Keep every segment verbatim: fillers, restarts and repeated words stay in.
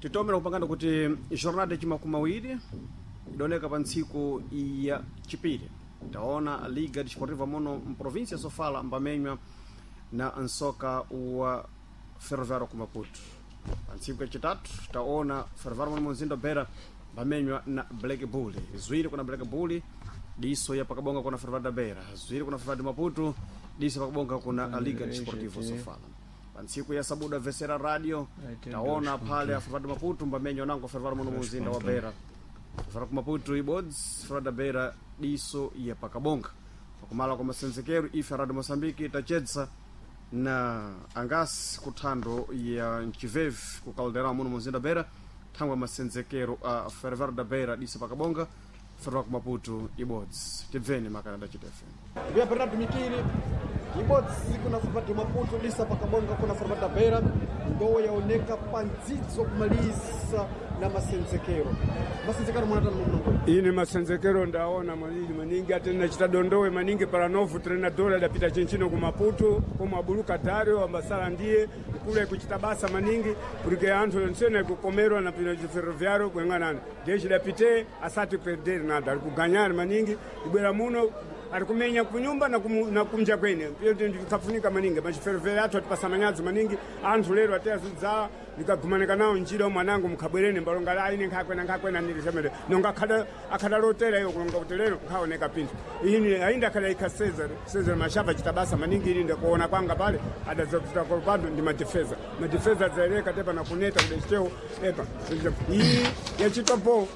Titomera kupangana kuti jornada yachimakumi awiri idoneka pa ntsiku ya chipiri. Taona Liga Desportiva muno mprovinsia ya Sofala mbamenywa na nsoka wa Ferroviário ku Maputo. Pa ntsiku yachitatu taona Ferroviário muno mumzinda wa Beira mbamenywa na Black Bull. Ziwiri kuna Black Bull, diso ya pakabonga kuna Ferroviário da Beira, ziwiri kuna Ferroviário de Maputo, diso pakabonga kuna Liga Desportiva Sofala. Pa ntsiku ya sabuda Vesera Radio taona phale a Ferroviário de Maputo mbamenywa nango Ferroviário muno mumzinda wa Beira. Ferroviário ku Maputo ibodzi, Ferroviário da Beira diso ya pakabonga. Pakumala kwa masenzekero ife Radio Moçambique itachedza na angasi kuthando ya mchivevi ku Caldeirão muno mumzinda Beira, thangwe masenzekero a Ferroviário da Beira diso pakabonga, Ferroviário ku Maputo ibodzi. Tibveni makanada chitefe. Via Bernardo Mikiri ibodzi kuna Ferroviário de Maputo lisa pakabonga kuna Ferroviário da Beira ndo yaoneka pandzidzo kumalisa na masenzekero masenzekero mwanatani munongo Ine masenzekero ndaona maningi maningi ate nachita dondowe maningi para novo treinador adapita chinchino ku Maputo komwe abuluka Dario ambasala ndiye kule kuchita basa maningi porque anthu onsene kukomerwa na pino ferroviário kuyang'anana ndiye chidapite asati perder nada ali kuganyana maningi ibwera muno ari kumenya kunyumba na, kumu, na kumja kwene ndikafunika maningi machiferovera athu atipasa manyazi maningi anthu lero ateyazidza ndikagumanika nawo njira mwanangu mukhabwerene mbalonga aine nkhakwena nkhakwena nilisemere nonga akhada akhadalotera iyo kulonga kuti lero nkhaoneka pinthu ini ainda akhada ikha Cesar Cesar mashava chitabasa maningi ili ndakuona kwanga pale adazapita kwa pando ndi madefeza madefeza adzaeleka tepa na kuneta kudechitewo epa iyi yachitwapo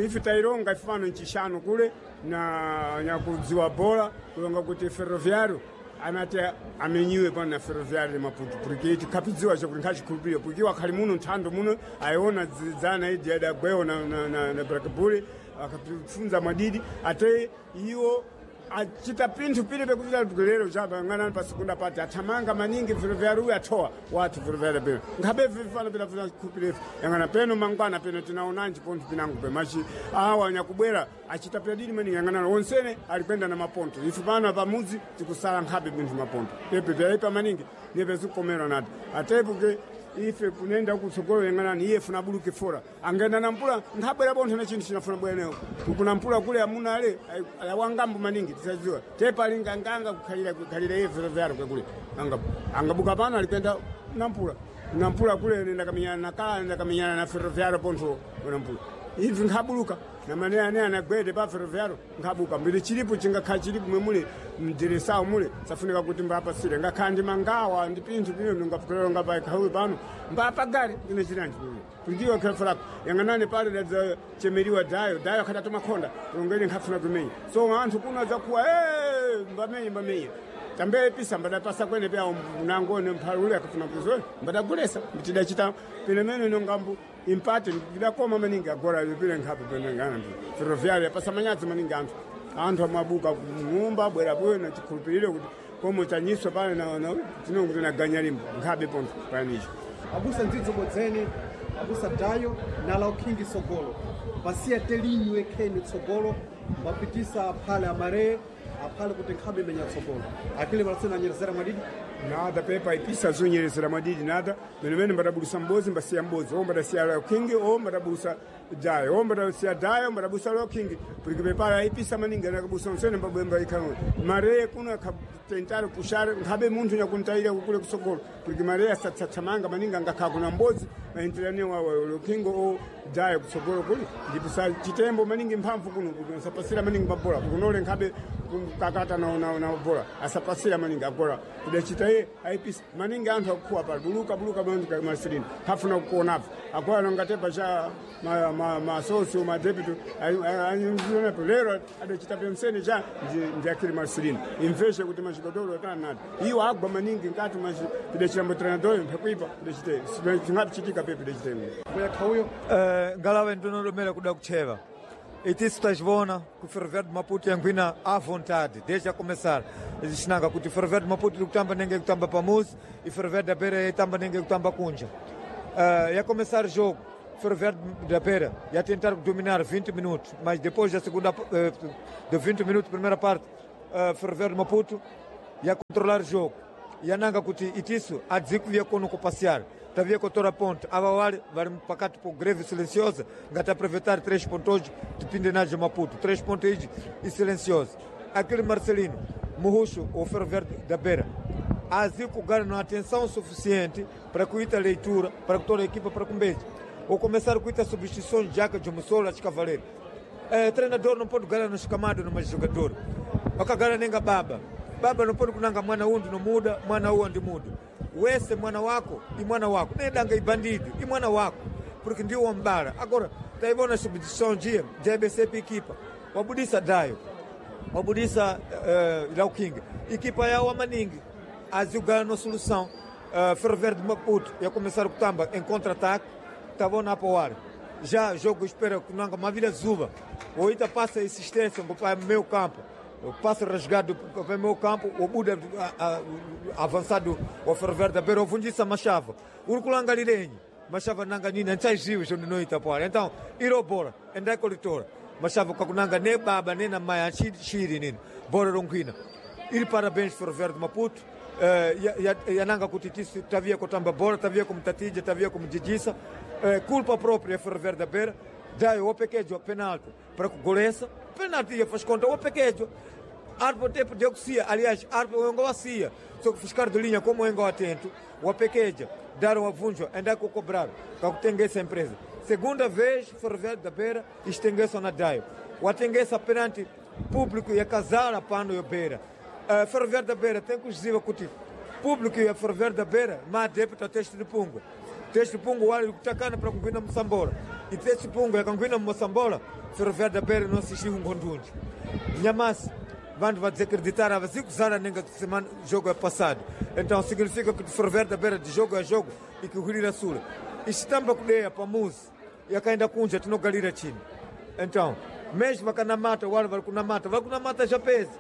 ife taironga ifano nchishanu kule na nyakudziwa bora kulonga kuti ferroviário anati amenyiwe pano na ferroviário de Maputo porque tikapidziwa chakuti nkhachikhulupirira porque wakhali muno nthando muno ayiona dzana idi adagwewo na, na, na, na Black Bull akafunza mwadidi ate iwo achita pinthu pili pekuti lero chapa ng'anani pa sekunda pati athamanga maningi ferroviário uyu athowa wathu ferroviário peno nkhabe vifana pila pila khupire yang'ana peno mangwana peno tinaonanji pontho pinango pe machi awa nyakubwera achita pyadidi maningi yang'anana wonsene alikwenda na maponto ife pano pamudzi tikusala nkhabe pinthu maponto pepe pyaipa maningi nipe zikukomerwa nati atepo ke ife kunenda kutsogolo yang'anani iye funa buluke fora angenda na mpula nkhabwera bontho na chinthu chinafuna bwenewo kuna mpula kule amuna ale awangambo maningi tisadziwa tepa alinganganga kukhalira kukhalira iye ferroviário kwekule anga angabuka pano alikwenda na mpula na mpula kule nenda kamenyana na kala nenda kamenyana na ferroviário pontho na mpula ivi nkhabuluka na mane ane anagwede pa ferroviário nkhabuka mbili chilipo chingakhala chilipo mwe mule mdiresawo mule safunika kuti mbapasire ngakhala ndi mangawa ndi pinthu pino ndingapukelero ngapa ikhawi pano mbapa gari ndine chilanji pino kundiwa khefarako yang'anani pale dadza chemeriwa dayo dayo akhatatu makhonda kulongeni nkhafuna kumenya so anthu kuno adzakuwa "Eh, mbamenye mbamenye tambe pisa mbadapasa kwene pya mnangone mphalule akafuna kuzoe mbadagulesa mtidachita pene mene nongambu impate ndidakoma maningi agora pile nkhape pene ngana ferroviário yapasa manyazi maningi anthu anthu amabuka kumumba bwera bwena chikhulupiriro kuti komwe tanyiswa pale na na tinongo tinaganya limbo nkhabe pontho panicho abusa ndzidzo bodzene abusa dayo na laukingi tsogolo pasiya telinywe kheni tsogolo mbapitisa aphale amare aphale kuti nkhabe imenya tsogolo akili malasena anyerezera mwadidi nada pepa ipisa zonyerezera mwadidi nada menemene mbadabulusa mbozi mbasiya mbozi o mbadasiya lokingi o mbadabusa dayo o mbadasiya dayo mbadabusa lokingi porque pepala ipisa maningi anakabusa nsene mbabwemba ikhanwe mare kuno akatentare pushare nkhabe munthu nyakuntaira kukule kusogolo porque mare asatsatsamanga maningi angakhala kuna mbozi maenterane wawa lokingo o dayo kusogolo kuli ndipo sa chitembo maningi mphamvu kuno kuti asapasira maningi mabola kunole nkhabe kakata na na na bola asapasira maningi agora kudachita iye aipisa maningi anthu akukhuwa pali buluka buluka bantu masirini hafuna kuonapo agora nongatepa cha ma ma masosio madepito aionepo lero adachita pemsene cha ndi akili masirini imveshe kuti machigodoro atanati iwo agwa maningi nkati machi kudachita treinador mphakuipa kudachite chingapichitika pepe kudachite muyakha uyo Uh, ngalawe ndinodomera kuda kucheva itisu tazivona ku Ferroviário de Maputo yankhwina à vontade desde a começar xinanga kuti Ferroviário de Maputo iri kutamba nenge kutamba pamuzi e Ferroviário da Beira itamba nenge kutamba kunja. Uh, ia começar jogo Ferroviário da Beira ia tentar dominar vinte minutos, mas depois da segunda uh, de vinte minutos primeira parte, uh, Ferroviário de Maputo ia controlar o jogo. Yananga kuti itisu adzikuvia kono kupassear. Tavia kotora ponto. Ava wale vari pakati po greve silenciosa, ngati aproveitar três pontos depende najo Maputo. Três pontos e silenciosa. Aquele Marcelino, Murrucho, o Ferroviário da Beira. Azico ganha uma atenção suficiente para cuidar a leitura, para toda a equipa para comer. Ou começar a cuidar substituições de Jaca de Mussola, de Cavaleiro. É, treinador não pode ganhar nos camados, no jogador. Wakagana nenga baba. Baba não pode kunanga mwana undu no muda, mwana uwo ndi muda. Wese mwana wako e mwana wako. Nedanga ibandido e mwana wako. Porque ndio wambara. Agora, taibona substituição dia, de A B C equipa. Wabudisa dayo. Wabudisa uh, Lauking. Equipa yao amaningi. Azugana no solução. Uh, Ferroviário de Maputo ia começar o Tamba em contra-ataque. Tava na poar. Já jogo espera kunanga mavila zuba. Oita passa insistência para meu campo. O passo rasgado para o meu campo, o Buda avançado o Ferroviário da Beira, o Fundissa Machava. Urkulanga Lirenyi, Machava nanga nina, nchaiziwe shondo noita poar. Então, irobora, endai colitora. Machava kakunanga ne baba, ne na maya, chiri nini, bora ronquina. Ir parabéns Ferroviário de Maputo. Uh, yananga kuti tisu tavia kotamba bora, tavia como tatija, tavia como jijisa. Uh, culpa própria Ferroviário da Beira. Dai o pequejo penalti para que goleça. Penalti ia faz conta o pequejo. Arpo tempo de oxia, aliás, arpo o engoacia. Só que fiscal de linha como engo atento, o pequejo, deram a vunjo, ainda que cobrar, que tem essa empresa. Segunda vez, Ferroviário da Beira, estengueça na Daio. O atengueça perante público e a casar a pano e a Beira. Uh, Ferroviário da Beira tem que dizer que público e a Ferroviário da Beira, mas adepto a teste de pungo. Teste de pungo, olha, o que está para cumprir na Moçambola. E teste de pungo é cumprir na Moçambola, Ferroviário da Beira não assistiu um conjunto. Nhamas, vão vai desacreditar, a cinco anos nem semana jogo é passado. Então significa que o Ferroviário da Beira de jogo a jogo e que o Rio Sul. Estamba kudeia para muzi, e a ainda kunja tinogalira chini. Então, mesmo que na mata, o vai na mata, vai na mata já pesa.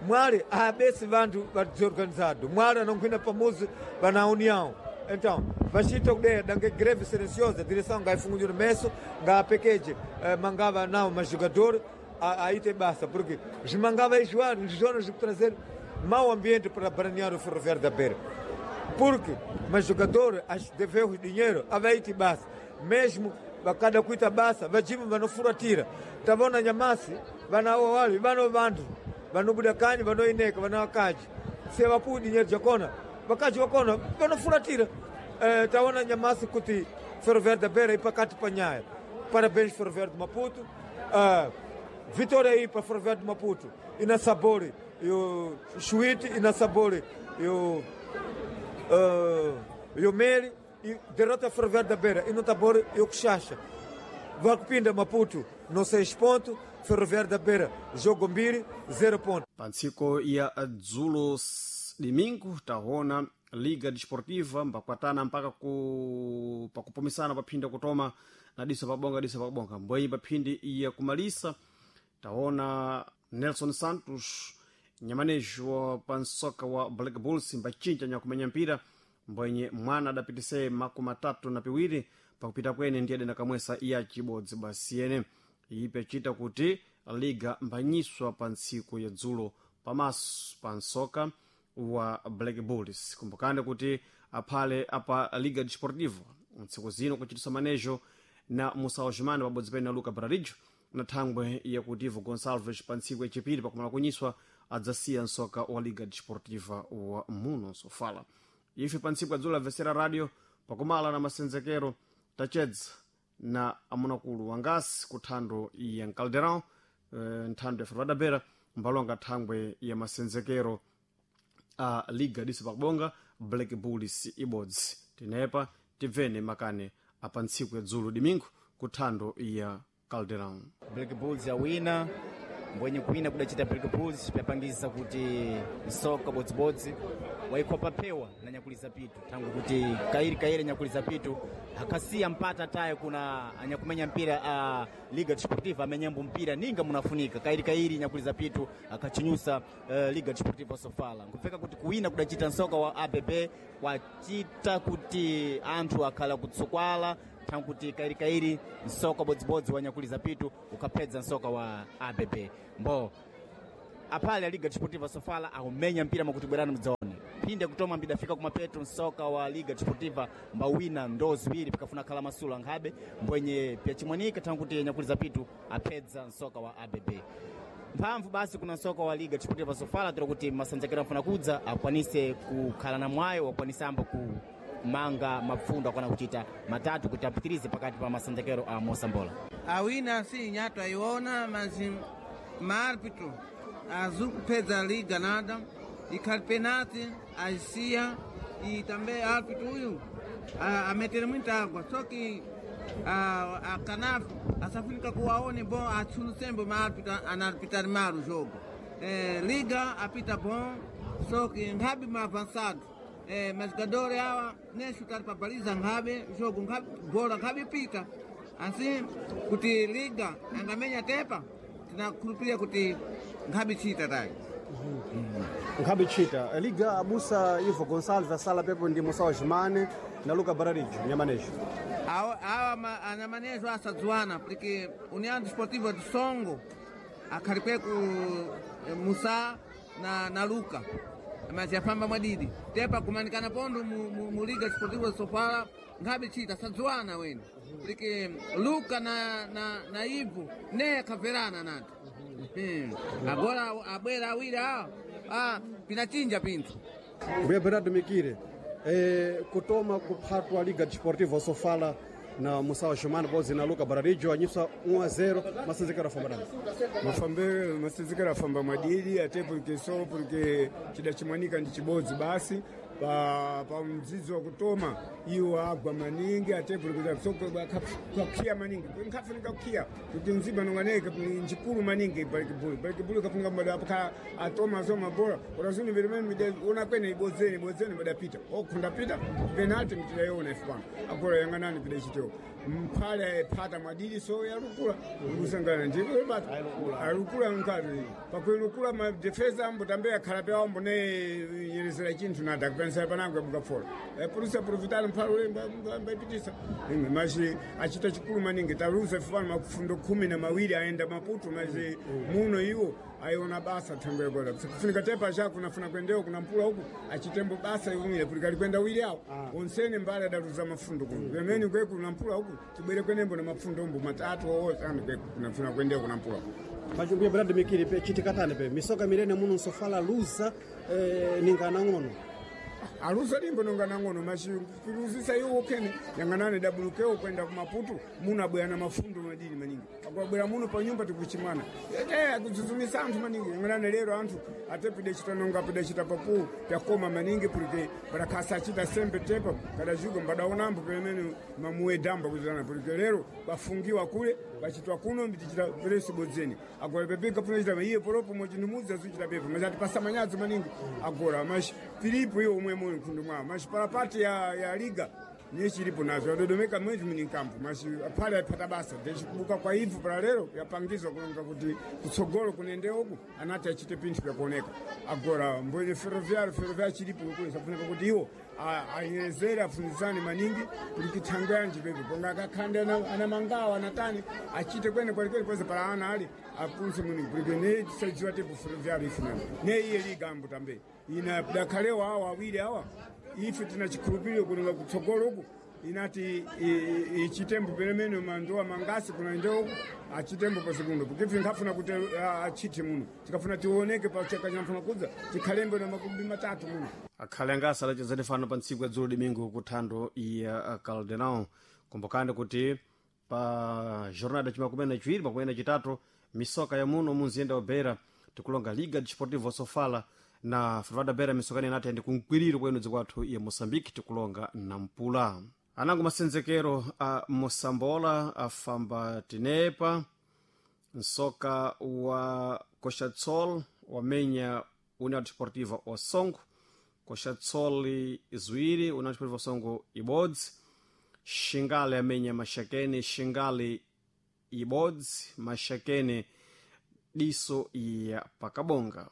Mwari abesi vantu desorganizado. Mwari anonkwina pamuzi vana união. Então, vachita kudeya dange greve silenciosa, direção ngaifungunjira meso, ngaapekeje eh, mangava nao majogador, aí tem basta, porque os mangava enjoar, os zonas de trazer mau ambiente para branear o Ferroviário da Beira. Porque, mas jogador deveu o dinheiro, aí tem basta. Mesmo cada cuita basta, vajima vanofuratira. Tavona nyamasi, vana wali, vano vantu. Vanobuda kanyi vanoineka vanawakaji se vapuwa dinheiro jakona vakaji vakona vanofuratira. Eh, taona nyamasi kuti Ferroviário da Beira ipakati panyaya. Parabéns Ferroviário de Maputo. Uh, vitória aí para Ferroviário de Maputo. E na Sabore e o Chuíte, e na Sabore e o uh, e o Meri, e derrota Ferroviário da Beira e no Tabor e o Quixaxa. Vakupinda Maputo no seis pontos. Ferroviário da Beira, jogo mbili, zero ponto. Pantsiko ya dzulo domingo taona Liga Desportiva mbakwatana mpaka ku pakupumisana paphinda kutoma na diso pabonga diso pabonga mbwenyi paphindi ya kumalisa taona Nelson Santos nyamanejo wa pansoka wa Black Bulls mbachinja nyakumenya mpira mbwenye mwana adapitise makumi atatu na piwiri pakupita kwene ndiye adenda kamwesa iya chibodzi basi yene ipe chita kuti liga mbanyiswa pa ntsiku ya dzulo pamaso pa nsoka wa Black Bulls. Kumbukani kuti aphale apa Liga Desportiva ntsiku zino kuchitisa manejo na Musa Osman pabodzi pene na Luca Brarijo na thangwe yakuti Ivo Gonçalves pa ntsiku yachipiri pakumala kunyiswa adzasiya nsoka wa Liga Desportiva wa muno Sofala. Ife pa ntsiku ya dzulo avesera radio pakumala na masenzekero tachedza na amunakulu wangasi ku thando ya Caldeirão, eh, nthando ya Ferroviário da Beira mbalonga thangwe ya masenzekero a Liga diso pakubonga Black Bulls ibodzi. Tinepa tibvene makane apa ntsiku ya dzulo domingo ku thando ya Caldeirão. Black Bulls yawina mbwenye kuwina kudachita Black Bulls pyapangisa kuti msoka bodzibodzi waikhopa phewa na nyakuliza pitu tangu kuti kairi kairi nyakuliza pitu akasiya mpata taye kuna anyakumenya mpira a uh, Liga Desportiva amenyambo mpira ninga munafunika kairi kairi nyakuliza pitu akachinyusa uh, Liga Desportiva Sofala nkupfeka kuti kuwina kudachita msoka wa A B B kwachita kuti anthu akhala kutsokwala tangu kuti kairi kairi msoka bodzibodzi wa nyakuliza pitu ukapedza msoka wa A B B mbo aphale a Liga Desportiva Sofala akumenya mpira makuti bwerani mudzaone Mphindi akutoma mbidafika kumapeto msoka wa Liga Desportiva mbawina ndo ziwiri pikafuna khala masula nkhabe mbwenye pyachimwanika thangu kuti nyakuliza pitu apedza msoka wa A B B. Mphamvu basi kuna msoka wa Liga Desportiva Sofala tira kuti masanzekero amfuna kudza akwanise kukhala na mwayo akwanise ambo kumanga mapfundo akwana kuchita matatu kuti apitirize pakati pa masanzekero a Mosambola. Awina si nyato ayiona mas maárbitro azul kupedza liga nada ikhali penalti aisiya e também árbitro uyu a- ametere muita água só que a, a Canaf asafunika kuwaone bom atsuno sempre maárbitro anarbitar mal o jogo. Eh, liga apita bom só que nkhabe ma avançado. Eh, mas jogadores awa nem chutar para baliza nkhabe jogo nkhabe bola nkhabe pita assim kuti liga angamenya tepa tinakhulupirira kuti nkhabe chita tayi. Nkhabe chita Liga abusa Ivo Gonçalves asala pepo ndi Musa Wajimane na Luca Bararijo nyamanejo. Awa awa ma- anamanejo asadziwana porque União Desportiva de Songo akhalipe ku eh, Musa na, na Luca mas yafamba mwadidi tepa kumanikana pondo mu, mu, mu Liga Desportiva de Sofala nkhabe chita asadziwana wene porque Luca na, na, na Ivo ne akhaverana nati. Hmm. Agora abwera awiri awa ah, pinachinja pinthu. Mbuya Bernardo Mikire eh, kutoma kuphatwa Liga Desportiva Sofala na Musa Wajimane bozi na Luca Bararijo anyisa um a zero masenzekero afamba dani. Mafambe masenzekero afamba mwadidi ate porque so porque chida chimwanika ndi chibodzi basi pa pa mzizi wa kutoma iwo agwa maningi ate porque so kakhiya maningi nkhafunika kukhiya kuti mziba nonganeke njikulu maningi balikibulu balikibulu kafunga mbada apaka atoma so mabola urazuni virimene mide una kwene ibodzeni ibodzeni badapita okhunda pita penalty mtidayiona ife pano agora yang'anani pida chitewo mphale phata mwadidi so yalukula kusangana ndipo bata alukula mkati pakuilukula ma defesa ambo tambe akhala pe ambo ne yerezera chinthu nada kupensera panango mukapfola e pulusa puluvitali mphale ule mbaipitisa imwe machi achita chikulu maningi taluza ife pano mafundo khumi na mawiri aenda Maputo machi muno iwo aiona basa thango yagola kufunika tepa chako nafuna kwendewo kuna mpula huku achitembo basa iwumile kuti kali kwenda wili awo onsene mbale adaluza mafundo kuno pemene kweku kuna mpula huku tibwere kwenembo na mafundo ombo matatu owo anu kweku kunafuna kwendewo kuna mpula Mbuya Bernardo Mikire pe chitikatane pe misoka mirene muno Sofala luza eh, ningana ng'ono. Aluza limbo nonga nang'ono machiluzisa iwo kene yang'anane dabulukeo kwenda kumaputu muno abwera na mafundo madini maningi akwabwera muno pa nyumba tikuchimwana ete akuzuzumisa anthu maningi yang'anane lero anthu atepide chita nonga apide chita papu pyakoma maningi porque barakhasa achita sembe tepa kadajuka mbadaonambo pemene mamuwedamba kuzana porque lero bafungiwa kule bachitwa kuno mbitichita peresi bodzeni agora pepeka punachita iye poropo mochindimudza suchita pepa machati pasamanyadzo maningi agora machi filipo iwo umwe mwe mkhundu mwawo machi parapati ya, ya liga niye chilipo nazo yadodomeka mwezi muni nkampo machi aphale aphata basa ndechikubuka kwa ivu para lero yapangizwa kulonga kuti kutsogolo kunende uku anati achite pinthu pyakuoneka agora mbwenye ferroviário ferroviário chilipo kule safunika kuti iwo anyerezere afunizane maningi kuti kithango yanji pepe ponga akakhande ana- anamangawa anatani achite kwene kwalikweli kweze para ana ali apunse muni kuti ne tisadziwa tepo ferroviário ifunana ne iye liga ambo tambe ina dakhalewa awa awiri awa ife tina chikhulupiriro kuti kutsogolo uku inati ichitembo pelemene mandowa mangasi kuna ndeuku achitembo pasekundo porque nkafuna kuti ah, achite muno tikafuna tioneke pachaka chanafuna kudza tikhalembe na makumi matatu muno. Akhale anga asalachezani fano pa ntsiku ya dzulo domingo kuthando ya Caldenão. Kumbukani kuti pa jornada chimakumi na chiwiri makumi na chitatu misoka ya muno munzinda wa Beira tikulonga Liga Desportiva Sofala na Ferroviário da Beira misokani inati ndi kumkwiriro kwenu dziko athu ya Moçambique tikulonga Nampula. Anango masenzekero a Mosambola afamba tinepa nsoka wa Coxatsol wamenya União Desportiva Osongo Coxatsol ziwiri União Desportiva Osongo ibodzi Xingale amenya Maxakene Xingale ibodzi Maxakene diso ya Pakabonga.